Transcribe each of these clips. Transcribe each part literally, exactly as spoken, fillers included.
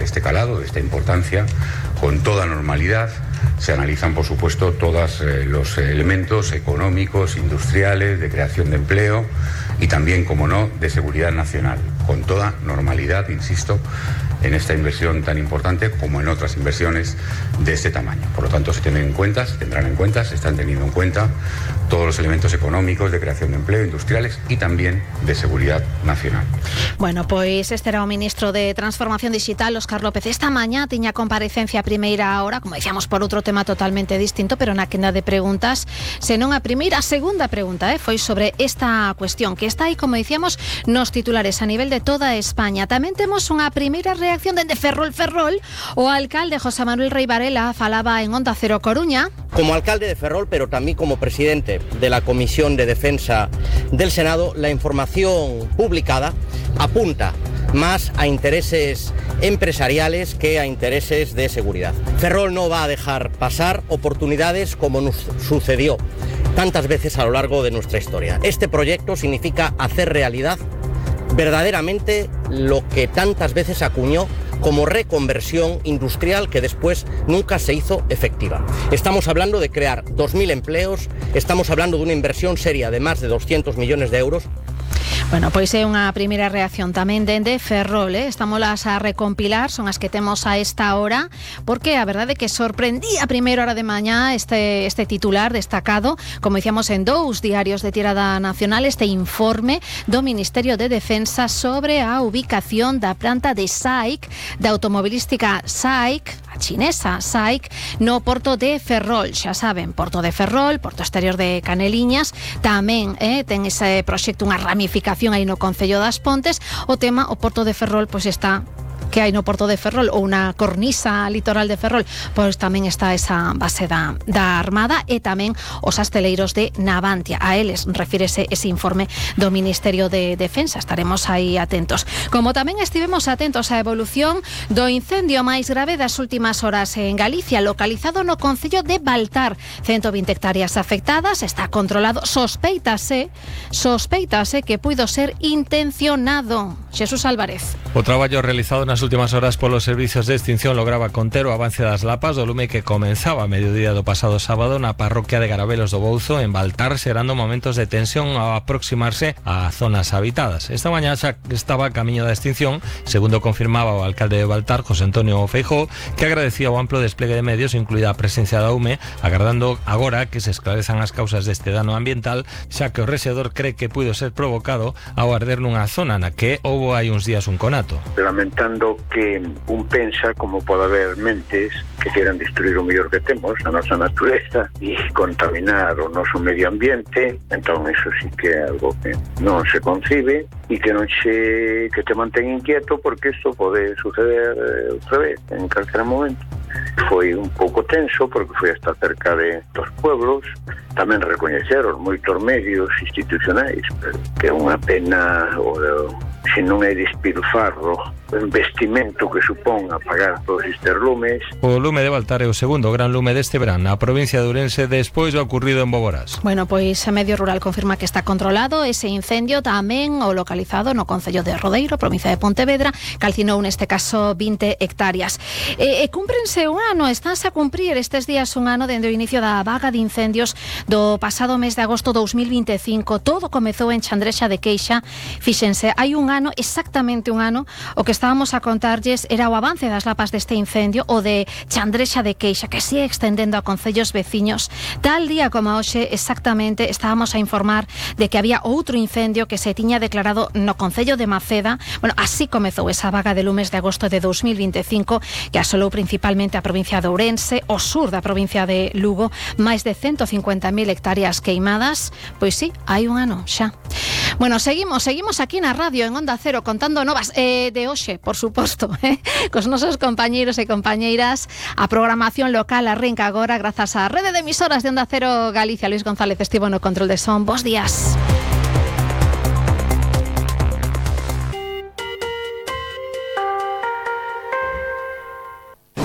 este calado, de esta importancia, con toda normalidad. Se analizan, por supuesto, todos eh, los elementos económicos, industriales, de creación de empleo y también, como no, de seguridad nacional, con toda normalidad, insisto, en esta inversión tan importante como en otras inversiones de este tamaño. Por lo tanto, se tienen en cuenta, se tendrán en cuenta, se están teniendo en cuenta todos los elementos económicos de creación de empleo, industriales y también de seguridad nacional. Bueno, pois este era o ministro de Transformación Digital, Óscar López. Esta mañá tiña comparecencia a primeira hora, como decíamos, por outro tema totalmente distinto, pero na quenda de preguntas, senón a primeira, a segunda pregunta, eh, foi sobre esta cuestión, que está aí, como decíamos, nos titulares a nivel de toda España. Tamén temos unha primeira reacción dende Ferrol Ferrol. O alcalde José Manuel Rey Varela falaba en Onda Cero Coruña. Como alcalde de Ferrol, pero también como presidente de la Comisión de Defensa del Senado, la información publicada apunta más a intereses empresariales que a intereses de seguridad. Ferrol no va a dejar pasar oportunidades como nos sucedió tantas veces a lo largo de nuestra historia. Este proyecto significa hacer realidad verdaderamente lo que tantas veces acuñó como reconversión industrial que después nunca se hizo efectiva. Estamos hablando de crear dos mil empleos, estamos hablando de una inversión seria de más de doscientos millones de euros. Bueno, pois é unha primeira reacción tamén dende Ferrol, eh? Estámolas a recompilar, son as que temos a esta hora, porque a verdade é que sorprendía a primeira hora de mañá este, este titular destacado, como dicíamos en dous diarios de tirada nacional, este informe do Ministerio de Defensa sobre a ubicación da planta de S A I C, da automobilística S A I C, a chinesa S A I C, no porto de Ferrol. Xa saben, porto de Ferrol, porto exterior de Caneliñas, tamén eh, ten ese proxecto, unha ramificación aí no Concello das Pontes. O tema, o porto de Ferrol, pois está que hai no porto de Ferrol, ou unha cornisa litoral de Ferrol, pois tamén está esa base da, da Armada e tamén os asteleiros de Navantia. A eles refírese ese informe do Ministerio de Defensa. Estaremos aí atentos. Como tamén estivemos atentos á evolución do incendio máis grave das últimas horas en Galicia, localizado no Concello de Baltar. ciento vinte hectáreas afectadas, está controlado, sospeitase, sospeitase que puido ser intencionado. Xesús Álvarez. O traballo realizado nas últimas horas polos servizos de extinción lograba conter o avance das lapas do lume que comenzaba a mediodía do pasado sábado na parroquia de Garabelos do Bouzo, en Baltar, xerando momentos de tensión ao aproximarse a zonas habitadas. Esta mañá xa estaba a camiño da extinción, segundo confirmaba o alcalde de Baltar, José Antonio Feijóo, que agradecía o amplo despliegue de medios, incluída a presencia da U M E, agardando agora que se esclarezan as causas deste dano ambiental, xa que o rexedor cree que puido ser provocado ao arder nunha zona na que houbo hai uns días un conato. Lamentando que un pensa como pode haber mentes que queran destruir o mellor que temos, a nosa natureza, e contaminar o noso medio ambiente. Entón, iso sí que é algo que non se concibe e que non se que te mantén inquieto, porque isto pode suceder eh, outra vez, en calquera momento. Foi un pouco tenso porque foi hasta cerca de dos pueblos. Tamén recoñeceron moitos medios institucionais, que é unha pena o, se non é despilfarro o investimento que supón apagar todos estes lumes. O lume de Baltar é o segundo gran lume deste verán na provincia de Ourense despois do ocurrido en Boborás. Bueno, pois a Medio Rural confirma que está controlado ese incendio, tamén o localizado no Concello de Rodeiro, provincia de Pontevedra, calcinou neste caso vinte hectáreas. E, e cúmprense un ano, estánse a cumprir estes días un ano dende o inicio da vaga de incendios do pasado mes de agosto dous mil vinte e cinco. Todo comezou en Chandrexa de Queixa. Fíxense, hai un ano, exactamente un ano, o que estábamos a contarlles era o avance das lapas deste incendio, o de Chandrexa de Queixa, que sigue extendendo a concellos veciños. Tal día como hoxe, exactamente, estábamos a informar de que había outro incendio que se tiña declarado no concello de Maceda. Bueno, así comezou esa vaga de lumes de agosto de dous mil vinte e cinco, que asolou principalmente a provincia de Ourense, o sur da provincia de Lugo, máis de ciento cincuenta mil hectáreas queimadas. Pois sí, hai un ano xa. Bueno, seguimos, seguimos aquí na radio en Onda Cero contando novas eh, de hoxe, por suposto, eh, cos nosos compañeiros e compañeiras. A programación local arranca agora grazas á rede de emisoras de Onda Cero Galicia. Luis González estivo no control de son. Bos días.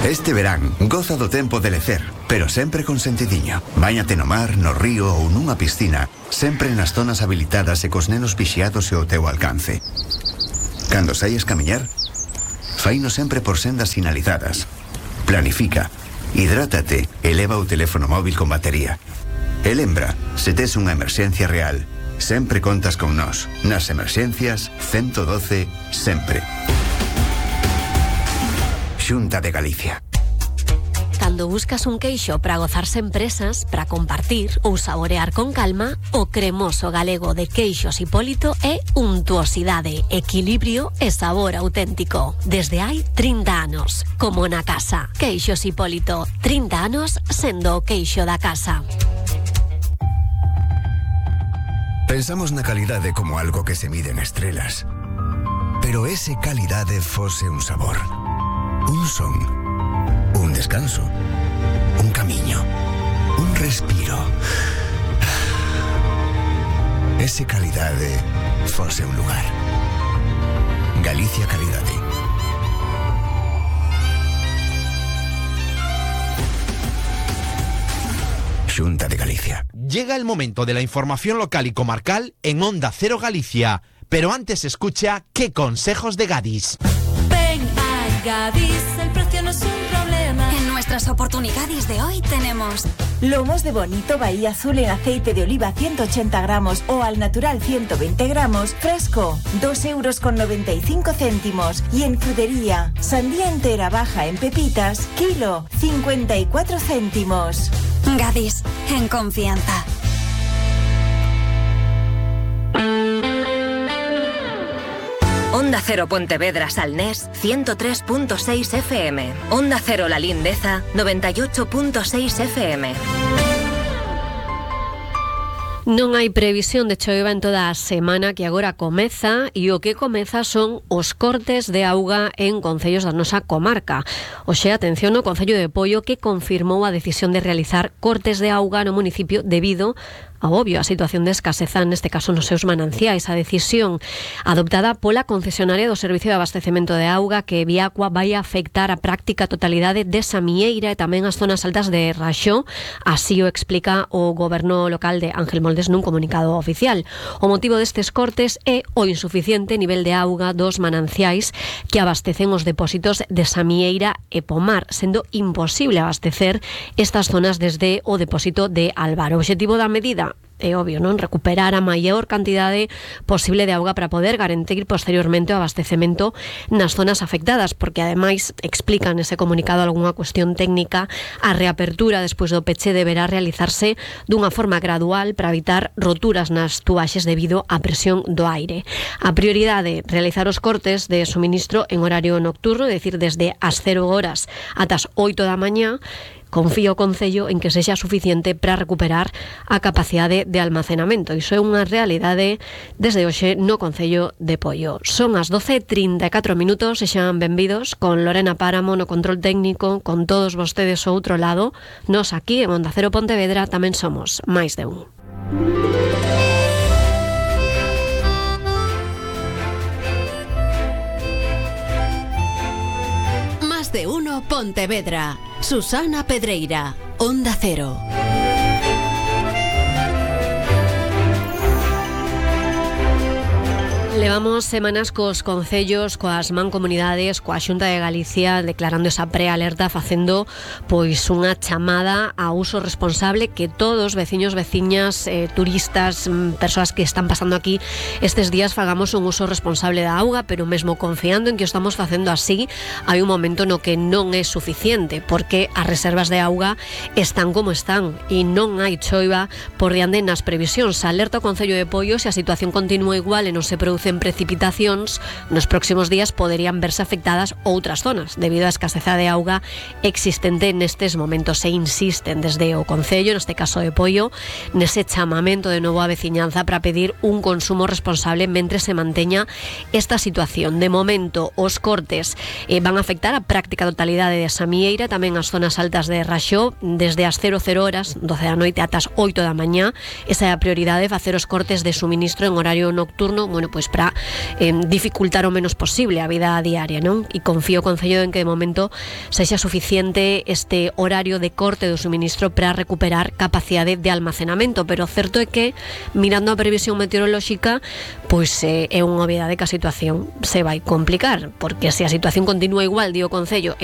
Este verán, goza do tempo de lecer, pero sempre con sentidiño. Báñate no mar, no río ou nunha piscina, sempre nas zonas habilitadas e cos nenos vixiados e ao teu alcance. Cando saias camiñar, faino sempre por sendas sinalizadas. Planifica, hidrátate e leva o teléfono móvil con batería. E lembra, se tes unha emerxencia real, sempre contas con nós. Nas emerxencias, ciento doce, sempre. Xunta de Galicia. Cando buscas un queixo para gozar sen presas, para compartir ou saborear con calma, o cremoso galego de Queixos Hipólito é untuosidade, equilibrio e sabor auténtico. Desde hai trinta anos, como na casa. Queixos Hipólito, trinta anos sendo o queixo da casa. Pensamos na calidade como algo que se mide en estrelas. Pero ese calidade fose un sabor, un son, un descanso, un camiño, un respiro. Ese calidade fose un lugar. Galicia Calidade. Xunta de Galicia. Llega el momento de la información local y comarcal en Onda Cero Galicia. Pero antes escucha qué consejos de Gadis. Ven a Gadis, el precio no es un problema. En nuestras oportunidades de hoy tenemos lomos de bonito Bahía Azul en aceite de oliva ciento ochenta gramos o al natural ciento veinte gramos, fresco, dos euros con noventa y cinco céntimos. Y en frutería, sandía entera baja en pepitas, kilo, cincuenta y cuatro céntimos. Gadis, en confianza. Onda Cero Pontevedra Salnés, ciento tres punto seis F M. Onda Cero La Lindeza, noventa y ocho punto seis F M. Non hai previsión de choiva en toda a semana que agora comeza e o que comeza son os cortes de auga en concellos da nosa comarca. Oxe, atención no Concello de Poio que confirmou a decisión de realizar cortes de auga no municipio debido ao obvio a situación de escaseza, neste caso nos seus mananciais. A decisión adoptada pola concesionaria do Servicio de Abastecemento de Auga que Viacua vai afectar a práctica totalidade de Samieira e tamén as zonas altas de Raxó, así o explica o goberno local de Ángel Moldes nun comunicado oficial. O motivo destes cortes é o insuficiente nivel de auga dos mananciais que abastecen os depósitos de Samieira e Pomar, sendo imposible abastecer estas zonas desde o depósito de Alvar. O obxectivo da medida é obvio, non? Recuperar a maior cantidade posible de auga para poder garantir posteriormente o abastecemento nas zonas afectadas, porque ademais explican nese comunicado algunha cuestión técnica, a reapertura despois do peche deberá realizarse dunha forma gradual para evitar roturas nas tuaxes debido á presión do aire. A prioridade, realizar os cortes de suministro en horario nocturno, é dicir, desde as cero horas ata as oito da mañá. Confía o Concello en que sexa suficiente para recuperar a capacidade de almacenamento. Iso é unha realidade desde hoxe no Concello de Poio. Son as doce e trinta e catro minutos e xan benvidos con Lorena Páramo no control técnico, con todos vostedes ao outro lado. Nos aquí en Onda Cero Pontevedra tamén somos máis de un. Más de uno Pontevedra. Susana Pedreira, Onda Cero. Levamos semanas cos concellos, coas mancomunidades, coa Xunta de Galicia declarando esa prealerta, facendo pois unha chamada a uso responsable, que todos, veciños, veciñas, eh, turistas, persoas que están pasando aquí estes días, fagamos un uso responsable da auga, pero mesmo confiando en que o estamos facendo así, hai un momento no que non é suficiente, porque as reservas de auga están como están e non hai choiva por diante nas previsións. Alerta o Concello de Poio, se a situación continúa igual e non se produce en precipitacións, nos próximos días poderían verse afectadas outras zonas debido á escaseza de auga existente nestes momentos. Se insisten desde o Concello, neste caso de Poio, nese chamamento de novo á veciñanza para pedir un consumo responsable mentre se manteña esta situación. De momento, os cortes eh, van a afectar a práctica totalidade de Samieira, tamén as zonas altas de Raxó, desde as cero horas, doce da noite ata as oito da mañá. Esa é a prioridade, facer os cortes de suministro en horario nocturno, bueno, pois para eh, dificultar o menos posible a vida diaria, non? E confío o Concello en que de momento sexa suficiente este horario de corte do suministro para recuperar capacidade de almacenamento, pero o certo é que, mirando a previsión meteorolóxica, pois eh, é unha obviedade que a situación se vai complicar, porque se a situación continúa igual, di o Concello, e non